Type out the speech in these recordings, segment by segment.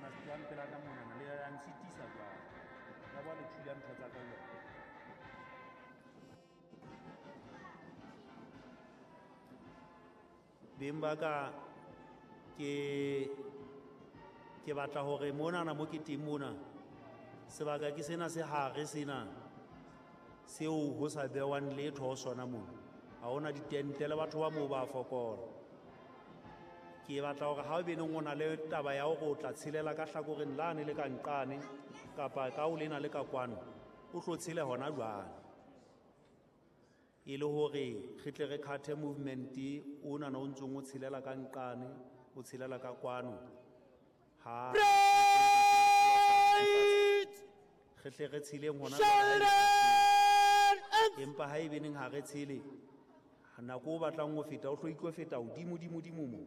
Ka tlohang pela ka monana le ya nsitisa jwale. Ya ba le thula ntho tsa ka jwale. Beng ba ka ke ke batla hore monana mo ke teng mona sebaka ke sena se hare sena seo ho sa bewang letho ho sona mona. Ha hona ditente le batho ba moo ba fokola. Ke batla hore ha o beneng o na le taba ya hore o tla tshelela ka hlakoreng lane le ka nqane kapa ka o lena le ka kwano, o tlo tshele hona jwale. E le hore re tle re cut movement ona o ntsong o tshelela ka nqane, o tshelela ka kwano. Ha re tle re tsheleng hona jwale. Empa ha e beneng ha re tshele, nako o batlang ho feta o tlo itlo feta hodimo dimo dimo mo.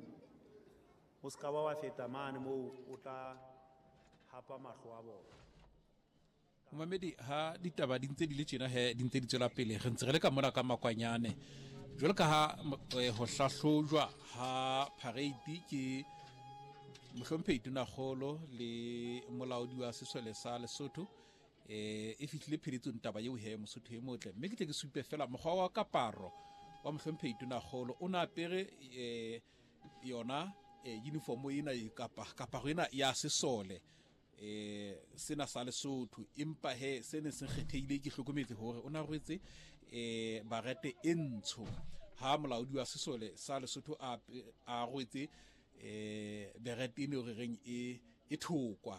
O ska ba wa feta mane moo o tla hapa mahlo a bona. Momamedi, ha ditaba di ntse di le tjena he, di ntse di tswela pele, re ntse re le ka mona ka makwanyane. Jwalo ka ha ho hlahlojwa ha parade ke mohlomphehi Tonakgolo le molaodi wa sesole sa Lesotho, e fihlile pheletsong taba eo he, Mosotho e motle. Mme ke tle ke supe fela mokgwa wa kaparo wa mohlomphehi Tonakgolo. O na apere yona uniform ena kapa kaparo ena ya sesole sena sa Lesotho, empa he se ne se kgethehile ke hlokometse hore o na rwetse barete e ntsho, ha molaodi wa sesole sa Lesotho a rwetse berete ene re reng e thokwa.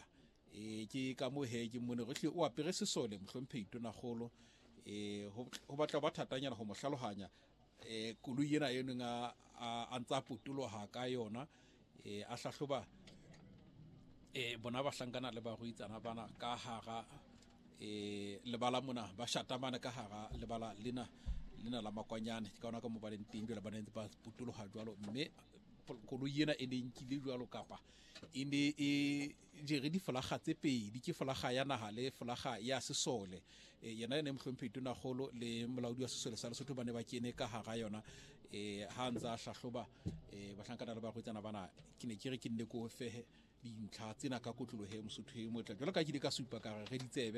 Ke ka mo he ke mone re hle o apere sesole mohlomphehi Tonakgolo. Ho batla ba thatanyana ho mo hlalohanya koloi ena e neng a ntsa potoloha ka yona, a hlahloba bona bahlankana le baruitsana bana ka hara lebala mona, ba shatamana ka hara lebala lena lena la makwanyane. Ke ka ona ka mo ba leng teng jwale, ba ne ba potoloha jwalo, mme koloi ena e ne nkile jwalo kapa e ne e jere difolaga tse pedi, ke folaga ya naha le folaga ya sesole. Yena ene mohlomphehi Tonakgolo le molaodi wa sesole sa Lesotho ba ne ba kene ka hara yona ha ntse a hlahloba bahlankana le barwetsana bana. Ke ne ke re ke nne ko fehe dintlha tsena ka kotlolohe, Mosotho e motle, jwalo ka ke ile ka supa ka re re ditsebe.